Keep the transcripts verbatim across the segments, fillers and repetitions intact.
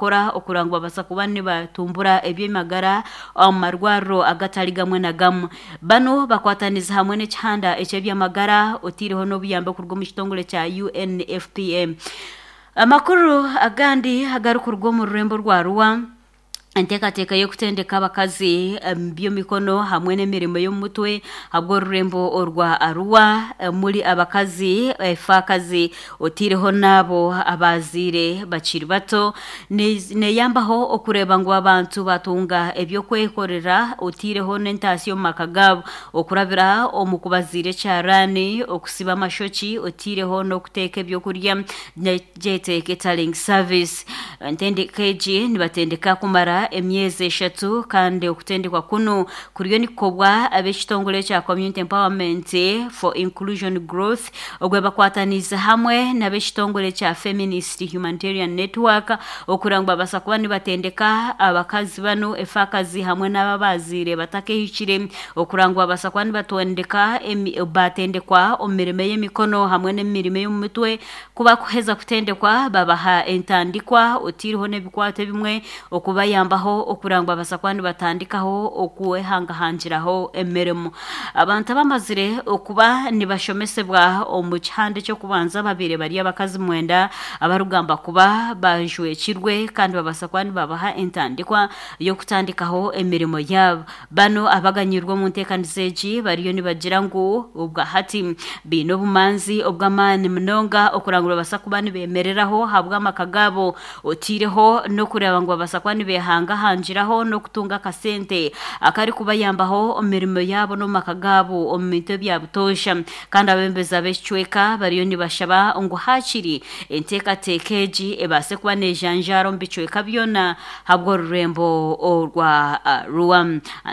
nibakora okureba ngu babaasa kuba nibatumbura eby'amagara omu marwariro agatari gamwe na gamwe. Banu bakwataniza hamwe n'ekihanda eky'ebyamagara otiireho n'obuyambi okuruga omu kitongore kya U N F P A. Amakuru agandi agarikuruga omu rurembo rwa Arua, enteekateeka y'okutendeka abakazi omu by'emikono hamwe n'emirimo y'omu mutwe habw'orurembo orwa Arua muri abakazi efaakazi otiireho n'abo abazaire bakiri bato neyambaho okureeba ngu abantu batunga eby'okwekorera otiireho n'entaasya omu maka gaabo okurabira omu kubaziira ekyaraani, okusiba amashoki, otiireho n'okuteeka ebyokurya, gyete catering service. Entendeka egi nibatendeka kumara emyezi eshatu kandi okutendekwa kunu kuriyo nikukorwa ab'ekitongore kya Community Empowerment for Inclusion Growth obwe bakwataniize hamwe n'ab'ekitongore kya Feminist Humanitarian Network okureba ngu babaasa kuba nibatendeka abakazi banu efaakazi hamwe n'abo abazaire batakehikire okureba ngu babaasa kuba nibatendeka batendekwa omu mirimo y'emikono hamwe n'emirimo y'omu mutwe. Ku bakuheza kutendekwa babaha entandikwa otiireho n'ebikwato ebimwe okubayambaho okureba ngu babaasa kuba nibatandikaho okwehangahangiraho emirimo. Abantu abamazire okuba nibashomesebwa omu kihanda eky'okubanza babaire bari abakazi mwenda abarikugamba kuba bajwekirwe kandi babaasa kuba nibabaha entandikwa y'okutandikaho emirimo yaabo. Banu abaganyirwe omu nteekaniza egi bariyo nibagira ngu obwahati baine obumanzi obw'amaani munonga okureba ngu babaasa kuba nibemereraho ahabw'amaka gaabo otiireho n'okureeba ngu babaasa kuba nibehangahangiraho n'okutunga akasente akarikubayambaho omu mirimo yaabo n'omu maka gaabo omu bintu ebya butoosha. Kandi abebembezi ab'ekicweka bariyo nibashaba ngu haakiri enteekateeka egi ebaase kuba neejanjaara omu bicweka byona habw'orurembo orwa Arua.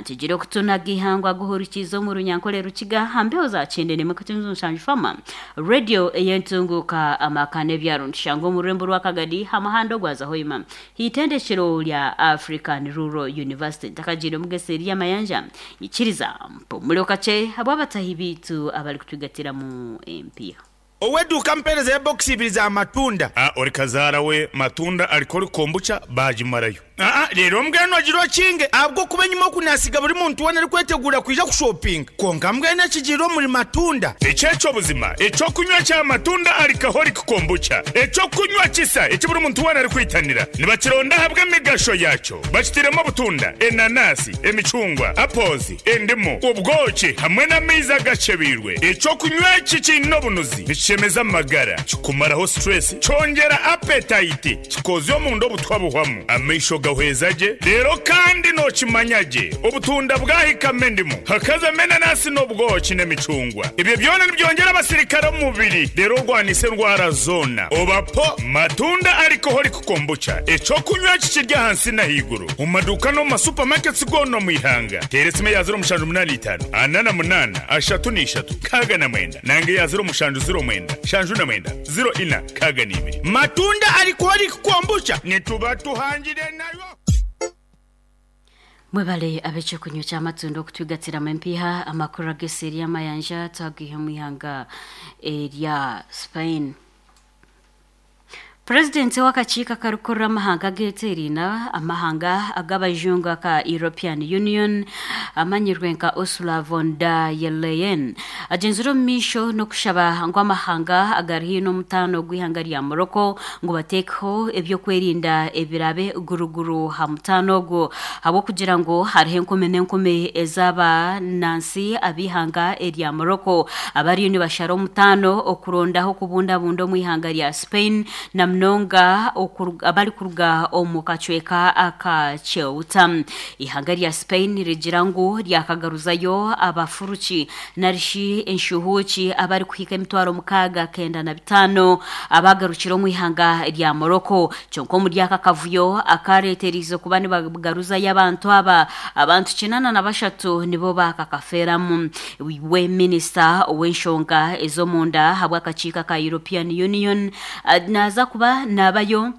Ntugire okutunaga ihangwa guhurikiize omu Runyankore Rukiga ha mbeho za kyenda n'emwe katunzi mushanju Fama Radio ey'entunguuka amaka n'ebyaro. Nitushanga omu rurembo rwa Kagadi ha muhanda ogwaza Hoima hitendekero rya African Rural University. Ntakagiire omugesi eri amayanja ikiriza mpumure kakye habw'abatahi biitu abarikutwigatiramu empiiha. Ow'eduuka, mpeereza ebokisi ibiri za matunda. Ah, ori kazaara we, matunda alcoholic kombucha baagimarayo. Aa, reero mbwenu ogira okinge ahabw'okuba enyima oku naasiga buri muntu weena arikwetegura kwija kushopinga. Kwonka mbwenu ekigiire omuri matunda. Ekyekyo buzima ekyokunywa kya matunda alcoholic kombucha, ekyokunywa kisa eki buri muntu weena arikwitanira. Nibakironda ahabw'emigasho yakyo. Bakitiremu obutunda, enanasi, emicungwa, apples, endimu, obwoki hamwe n'amaizi agacebeirwe. Ekyokunywa eki kiine obunuzi, nikishemeza amagara, kikumaraho stress, kyongyera appetite, kikozya omunda obutwa buhwamu, amaisho gahweza gye, reero kandi nookimanya gye obutunda bwahikamu endimu, hakazamu enanasi n'obwoki n'emicungwa. Ebyo byona nibyongyera abasirikare omu mubiri, reero orwanisa endwara zoona. Obapo matunda alcoholic kombucha, ekyokunywa eki kiri ahansi n'ahaiguru omu maduuka n'omu masupermarkets goona omu ihanga. Teera esimu eya ziro mushanju munaana itaano ana na munaana ashatu n'ishatu nkaaga na mwenda nanga eya ziro mushanju ziro mwenda shanju na mwenda ziro ina nkaaga n'ibiri. Matunda alcoholic kombucha nituba tuhangire nayo. Mwebale ab'ekyokunywa ky'amatunda okutwigatiramu empiiha. Amakuru ag'eseri y'amayanja twagiha mu ihanga erya Spain. Purezidenti w'akakiiko akarikukurira amahanga ageeteeraine amahanga ag'abajungu aka European Union amanyirwe nka Ursula von der Leyen agyenzire omu maisho n'okushaba ngu amahanga agari haihi n'omutaano gw'ihanga rya Morocco ngu bateekeho ebyokwerinda ebirabe guruguru ha mutaano ogwo habw'okugira ngu hariho enkumi n'enkumi ez'abanansi ab'ihanga erya Morocco abariyo nibashara omutaano okurondaho okubundabunda omu ihanga rya Spain na munonga abarikuruga omu kacweka aka Ceuta. Ihanga rya Spain rigira ngu ryakagaruzayo abafuruki narishi enshuhuuki abarikuhika emitwaro mukaaga kenda na bitaano abagarukire omu ihanga rya Morocco. Kyonka omuri aka kavuyo akareeterize kuba nibagaruzayo abantu aba, abantu kinana na bashatu nibo bakakafeeramu. We minisita ow'enshonga ez'omunda habw'akakiiko ka European Union naza kuba nabayo.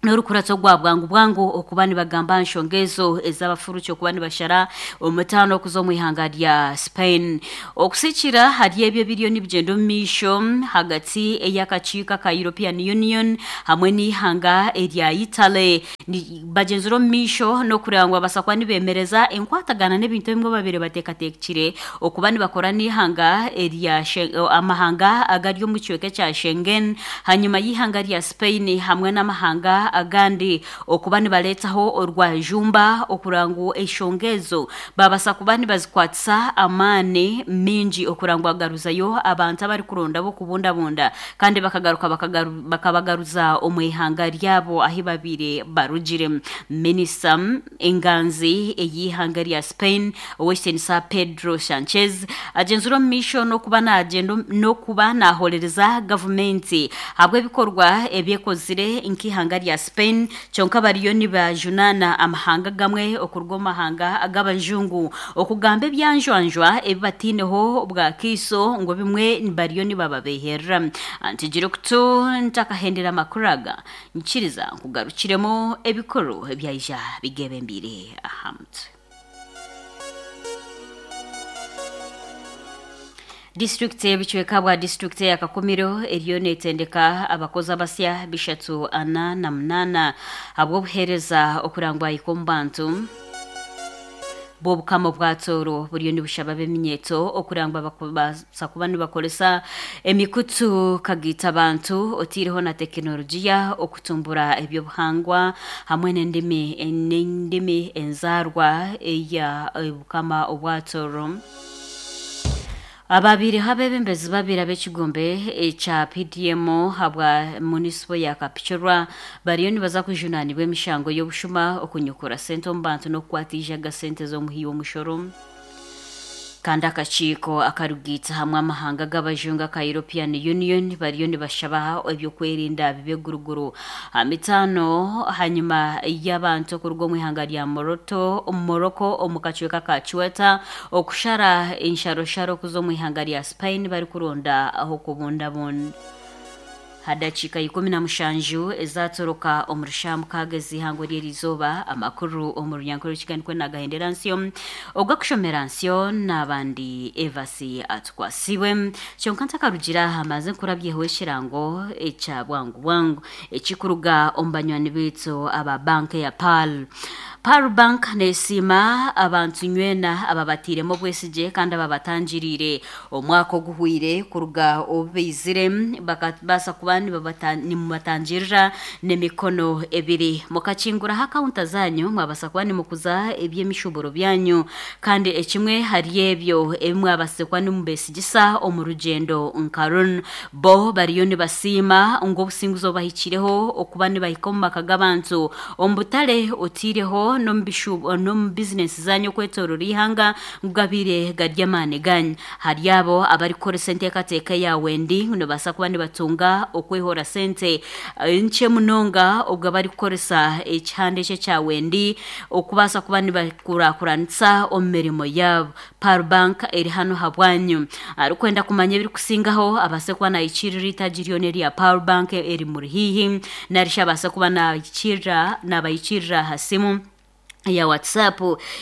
N'orukuratso gwa bwangu bwangu okuba nibagamba nshonga ezo ez'abafuruki okuba nibashara omutaano okuza omu ihanga rya Spain. Okusikira hari ebyo ebiriyo nibigyenda omu maisho hagati ey'akakiiko aka European Union hamwe n'ihanga erya Italy, Ni- bagyenzire omu maisho n'okureba ngu babaasa kuba nibemereza enkwatagana n'ebintu ebimwe babire bateekateekire okuba nibakora n'ihanga erya She- amahanga agari omu kicweka ekya Schengen, hanyuma y'ihanga rya Spain hamwe n'amahanga agandi okuba nibareetaho orwajumba okureba ngu enshonga ezo babaasa kuba nibazikwatisa amaani mingi okureba ngu bagaruzayo abantu abarikuronda b'okubundabunda kandi bakagaruka bakagaru- bakabagaruza omu ihanga ryabo ahi babire barugire. Minisita enganzi ey'ihanga rya Spain, Owekitiinisa Pedro Sanchez, agyenzire omu maisho n'okuba nagyenda n'okuba nahorereza gavumenti ahabw'ebikorwa ebyekozire nk'ihanga rya Spain, kyonka bariyo nibajunaana amahanga gamwe okuruga omu mahanga ag'abajungu okugamba ebyanjwanjwa ebi bataineho bwakiiso ngu bimwe bariyo nibababeherera. Ntigira okutu ntakahendera amakuru aga, nkiriza nkugarukiremu ebikuru ebyaija bigebembiire aha mutwe. Disitulikiti ebicweka bwa disitulikiti ya Kakumiro eriyo neetendeka abakozi abasya bishatu ana na munaana ahabw'obuheereza okurangwa ahika omu bantu bw'obukama bwa Tooro buriyo nibushaba ab'eminyeeto okurangwa bakubaasa kuba nibakoresa emikutu kagiita abantu otaireho na tekinologiya okutumbura ebyobuhangwa hamwe n'endimi n'endimi enzaarwa eya obukama obwa Tooro. Ababiireho abeebembezi babiri ab'ekigombe ekya P D M habwa munisipo ya Kapchorwa bariyo nibaza kujunaanibwa emishango y'obushuma, okunyukura sente omu bantu n'okukwata eijaga sente z'omuhi w'omushoro. Kandi akakiiko akarugiitsa hamwe amahanga g'abajungu aka European Union bariyo nibashaba ebyokwerinda bibe guruguru ha mitaano hanyuma y'abantu okuruga omu ihanga rya Moroto Morocco omu kacweka ka Ceuta okushara ensharosharo okuza omu ihanga rya Spain barikuronda aho kubundabunda. Hadakiika ikumi na mushanju ezatoroka omu rusha mukaaga ez'ihangwe ry'erizooba, amakuru omu runyankore rukiganikwe nagahendera nsyo ogakushomera nsyo n'abandi Evasi atukwasibwe. Kyonka ntakarugira aha maze nkurabyeho ekirango ekya bwangu bwangu ekikuruga omu banywani baitu aba banka ya Pearl. Pearl Bank neesiima abantu nywena ababatiiremu obwesigye kandi ababatangiriire omwaka oguhwire kuruga obu baizire bakabaasa kuba nibabata- nimubatangirira n'emikono ebiri. Mukakinguraho akawunta zanyu mwabasa kuba nimukuza eby'emishuburo byanyu, kandi ekimwe hari ebyo ebi mwabasize kuba nimubesigisa omu rugyendo nka runu. Bo bariyo nibasiima ngu obusinguzi obubahikireho okuba nibahika omu maka g'abantu omu butare otaireho n'omu bishu- n'omu bizinesi zanyu okwetoorora ihanga ngu gabiire gari amaani ganyu. Hari abo abarikukoresa enteekateeka yawe ndi nibabaasa kuba nibatunga okwehora sente nkye munonga obwo abarikukoresa ekihanda ekyo ekyawe ndi okubaasa kuba nibakurakuranisa omu mirimo yaabo. Pearl Bank eri hano habwanyu. Arikwenda kumanya ebirikusingaho abaase kuba nahikiirira eitaagi ryona erya Pearl Bank eri muri haihi, narishi abaase kuba nahikiirira nabahikiirira aha simu ya WhatsApp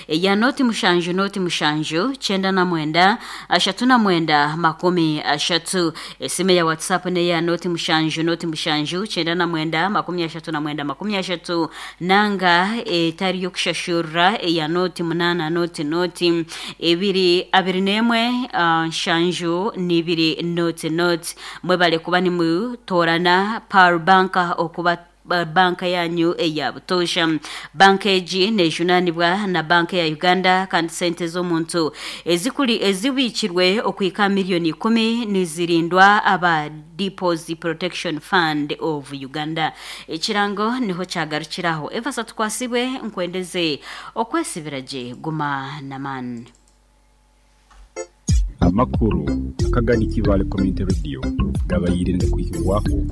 ya noti mushanju noti mushanju kyenda na mwenda ashatu na mwenda makumi ashatu. Esimu ya WhatsApp ne ya noti mushanju noti mushanju kyenda na mwenda makumi ashatu na mwenda makumi ashatu, nanga etari yokushashurira eya noti munana noti noti ebiri abiri n'emwe ah, nshanju n'ibiri noti noti. Mwebale kuba nimutoorana Pearl Bank okuba ba- banka yanyu eya butoosha. Banka egi nejunaanibwa na banka ya Uganda kandi sente z'omuntu ezikuri ezibiikirwe okuhika miliyoni ikumi nizirindwa aba Deposit Protection Fund of Uganda. Ekirango niho kyagarukiraho. Evasa tukwasibwe nkwendeze okwesibira gye guma n'amaani. Amakuru akagani Kibale Community Radio gabayirinde kwihirwaho.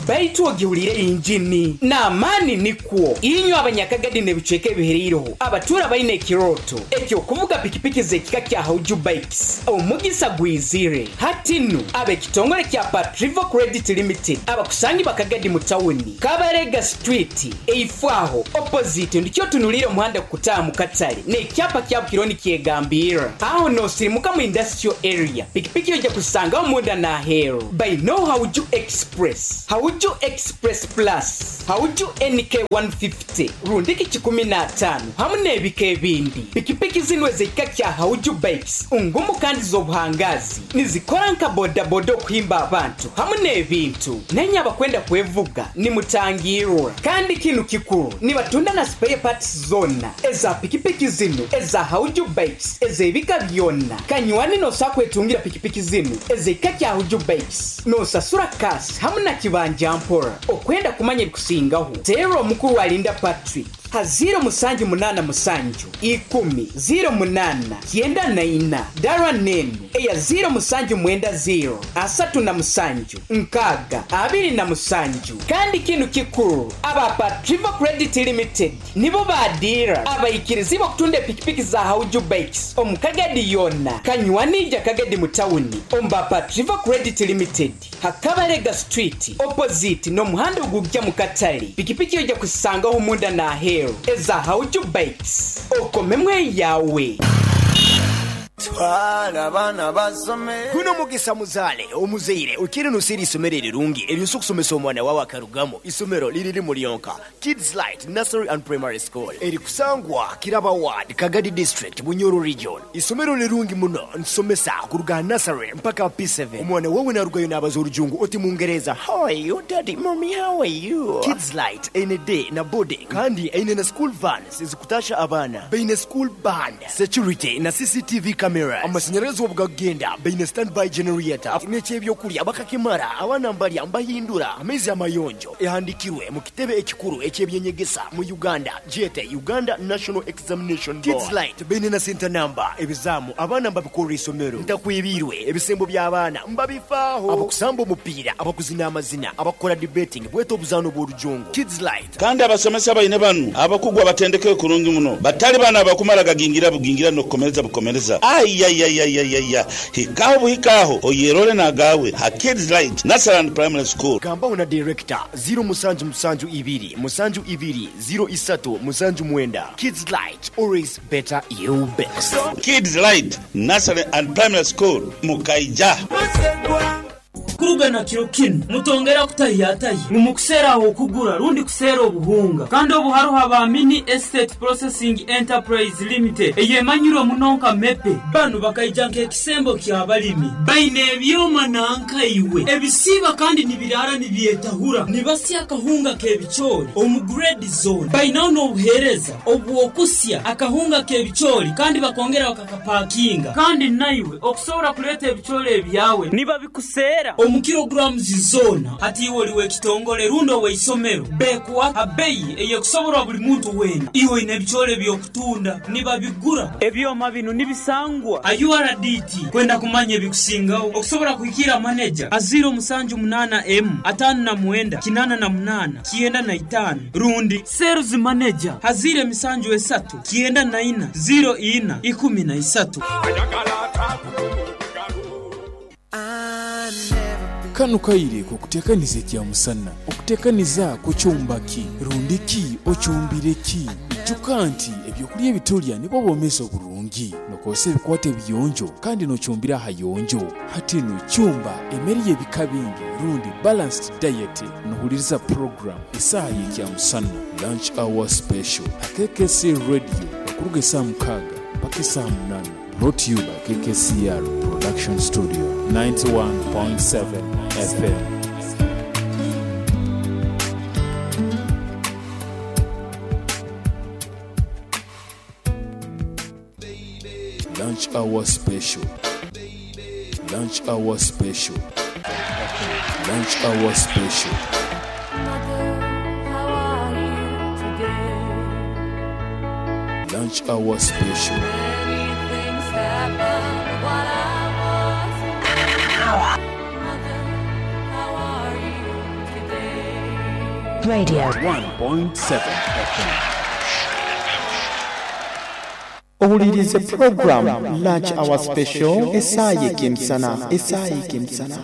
Baitu ogihulire injini n'amaani nikwo inywe abanyakagadi n'ebicweka ebihereireho abatura baine ekiroto ekyokuvuga pikipiki z'ekika kya Hauju Bikes omugisa gwizire hatinu ab'ekitongole kya Patrivo Credit Limited abakusangi bakagadi mu tawuni Kabarega Street eifwaho opposite ndikyo tunulire omuhanda kutaha mu katale n'ekyapa kya Bukironi kyegambira aho nosirimuka mu industrial area pikipiki ojja kusangaho munda n'aheeru by no Hauju Express, Hauju Express Plus, Hauju N K one fifty rundiki kikumi na ataano hamu n'ebika ebindi. Pikipiki zino ez'ekika kya Hauju Bikes ngumu kandi z'obuhangazi nizikora nka bodaboda okuhimba abantu hamu n'ebintu nenye abakwenda kwevuga nimutangirwa. Kandi kinu kikuru nibatunda na spare parts zona eza pikipiki zino eza Hauju Bikes ez'ebika byonna. Kanywani nosa kwetungira pikipiki zino ez'ekika kya Hauju Bikes nosasura kasi hamu na kibanja mpora. Okwenda kumanya ebikusingaho teera omukuru alinda Patrick ha ziro musanju munana musanju ikumi ziro munana kyenda na ina dara nenu eya ziro musanju mwenda ziro asatu na musanju nkaga abiri na musanju. Kandi kinu kikuru aba Patrivo Credit Limited nibo badira abayikirizi okutunda pikipiki za Hauju Bikes omukagadi yonna kanywanija kagadi mu tawuni omba Patrivo Credit Limited Hakabarega Street opposite n'omuhanda ogujja mu katale. Pikipiki ojja kusangaho munda n'aheeru eza Hauju Bikes okomemwe yawe. Twala abaana basome. Guno mugisa muzaale omuzaire okiri nusiri isomero erirungi eryosa okusomesa omwana wawe akarugamo. Isomero liriri mulyonka Kids Light Nursery and Primary School erikusangwa Kiraba Ward, Kagadi District, Bunyoro Region. Isomero lirungi muno nsomesa kuruga nursery mpaka P seven. Omwana wawe narugayo n'abaza orujungu oti Mungereza, how are you daddy, mommy, how are you? Kids Light ene day na boarding kandi ene na school vans ezikutasha abaana baine school band, security na C C T V cameras. Amashanyarazi obugagenda baine standby generator n'ekyebyokulya bakakimara abaana mbalya mbahindura amaizi amayonjo ehandikirwe mu kitebe ekikuru ekyebyenyegesa mu Uganda jete Uganda National Examination Board. Kids Light baine na center number ebizamu abaana mbabikorera isomero ntakwibirwe ebisembo by'abaana mbabifaaho abakusamba omupiira abakuzina amazina abakora debating bweta obuzaano bw'orujungu. Kids Light kandi abasomesa baine banu abakugwa batendeke kurungi muno batali bana abakumara gagingira bugingira n'okukomereza bukomereza. Ayayayayaya hikaho buhikaho oyerole nagawe ha Kids Light Nursery and Primary School. Gambaho na director zero musanju musanju ibiri musanju ibiri zero isatu musanju mwenda. Kids Light, always better you best. Kids Light Nursery and Primary School Mukaija. Kurugana kiro kinu mutongera kutayatayi mumukusera aho kugura rundi kusera obuhunga kandi obuharuha ba Mini Estate Processing Enterprise Limited eyemanyirwe munonka mepe banu bakaija nk'ekisembo ky'abalimi baine ebyoma nankaiwe ebisiba kandi nibirara nibyetahura nibasya akahunga k'ebicoori omu grade zone bainaho n'obuheereza obwokusya akahunga k'ebicoori kandi bakongera bakakapakinga kandi naiwe okusobora kuleeta ebicoori ebyawe nibabikusera omu kilograms zona hati iwe oliwe ekitongole rundo weisomero bekuwa abeyi eyekusoborwa buli muntu wena iwe ine ebicoori ebyokutunda nibabigura ebyoma bino nibisangwa a U R D T kwenda kumanya ebikusingaho okusobora kuhikira manager a zero musanju munana M atano na mwenda kinana na munana kienda na itano rundi sales manager hazire misanju esatu kienda na ina zero ina ikumi na isatu. Kano kaire kukutekaniza ekya musana okutekaniza kukyumbaki rundiki okyumbireki ijuka nti ebyokulya ebitulya nibwo bwomezi oburungi nokozesa ebikwata ebiyonjo kandi nokyumbira ahayonjo hatinu kyumba emmere y'ebika bingi rundi balanced diet nohuliriza program esaaha y'ekya musana lunch hour special K K C radio okuruga esaaha mukaaga mpaka esaaha munana. Brought to you by K K C R Production Studio ninety-one point seven F M. Lunch hour special. Lunch hour special. Lunch hour special. Mother, how are you today? Lunch hour special. Many things happened while I was away. Mother, how are you today? Radio. one point seven F M. Owulirize program Lunch Hour Special esaaye kemisana esaaye kemisana.